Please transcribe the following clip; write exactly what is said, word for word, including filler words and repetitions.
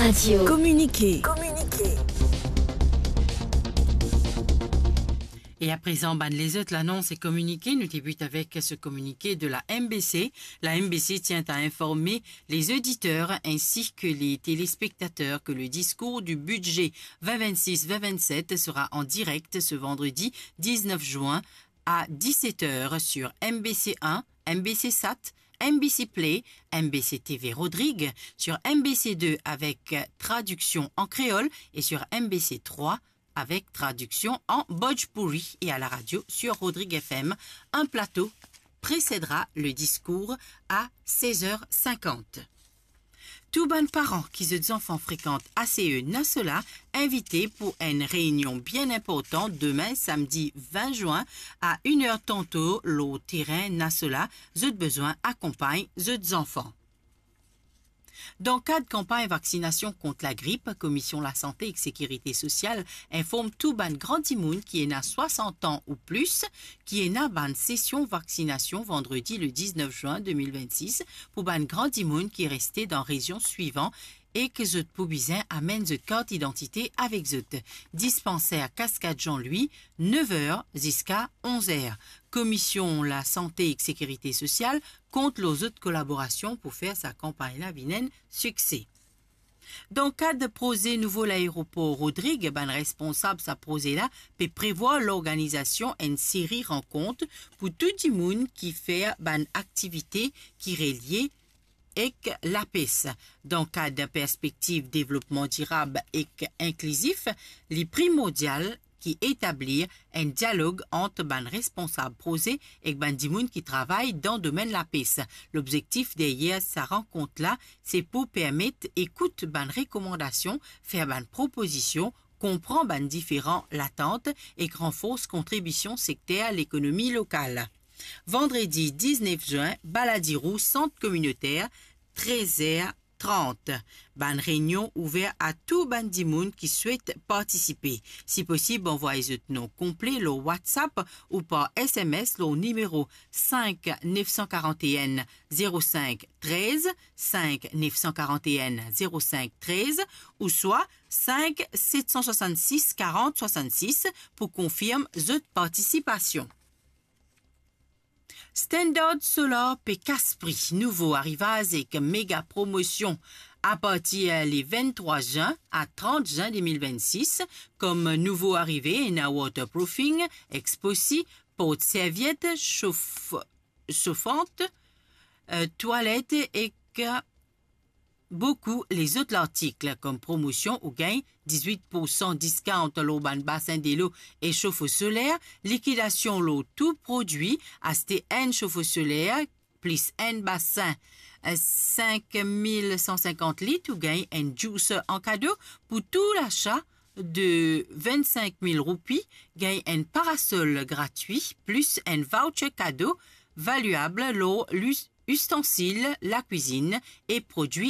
Radio. Communiqué. Communiqué. Et à présent, bann lezot lanons e kominike, nou débute avec ce communiqué de la M B C. La M B C tient à informer les auditeurs ainsi que les téléspectateurs que le discours du budget vingt vingt-six vingt vingt-sept sera en direct ce vendredi dix-neuf juin à dix-sept heures sur M B C un, M B C Sat, M B C Play, M B C T V Rodrigue, sur M B C deux avec traduction en créole et sur M B C trois avec traduction en bhojpuri et à la radio sur Rodrigue F M. Un plateau précédera le discours à seize heures cinquante. Tou bann paran ki zot zanfan frekant A C E Nasola invite pou enn reynion bien inportan demin samdi vin zin a enn er tanto lor terin Nasola, zot bizin akonpagn zot zanfan. Dan kad kanpagn vaksinasion kont lagrip, Komisyon Lasante ek Sekirite Sosial inform tou bann gran dimoun ki ena swasant an ou plis ki ena bann sesion vaksinasion vandredi le diznef zin de mil vennsis pou bann gran dimoun ki reste dan rezion swivan e ki zot pou bizin amenn zot kart idantite avek zot. Dispanser Cascade Jean Louis, nef er ziska onz er. Komisyon Lasante ek Sekirite Sosial kont lor zot kolaborasion pou fer sa kanpagn la vinn enn sikse. Dan kad proze nouvo laeropor Rodrig, bann responsab sa proze la pe prevwar lorganizasion enn seri rankont pou tou dimoun ki fer bann aktivite ki relie ek lapes. Dan kad perspektiv devlopman dirab ek inklizif, li primordial ki etablir enn dialog ant bann responsab proze ek bann dimoun ki travay dan domenn lapes. Lobzektif deryer sa rankont la, se pou permet ekout bann rekomandasion, fer bann propozision, konpran bann diferan latant ek ranfors kontribision sekter lekonomi lokal. Vandredi diznef zin, Baladirou, sant kominoter, trez er trant. Bann reynion ouver a tou bann dimoun ki swet partisipe. Si posib, anvway zot non konple lor WhatsApp ou par S M S lor nimero sink nef san karant enn zero sink trez, sink nef san karant enn zero sink trez, ouswa sink set san swasann-sis karant swasann-sis pou konfirm zot partisipasion. Standard Solar pe kas pri, nouvo arivaz ek mega promosion. Apartir le vinn-trwa zin a trant zin de mil vinn-sis, kom nouvo arive, ena waterproofing, exposi, port serviet, sof-, sofant, eh, twalet ek boukou lezot lartik. Kom promosion, ou gagn dizwit poursan discount lor bann basin delo e sofo soler, likidasion lor tou prodwi, aste enn sofo soler plis enn basin, eh, sink mil san sinkant lit, ou gagn enn juicer an kado. Pou tou lasa de vinn-sink mil roupi, gagn enn parasol gratwi, plis enn voucher kado valiab lor lus-, ustansil lakwizinn e prodwi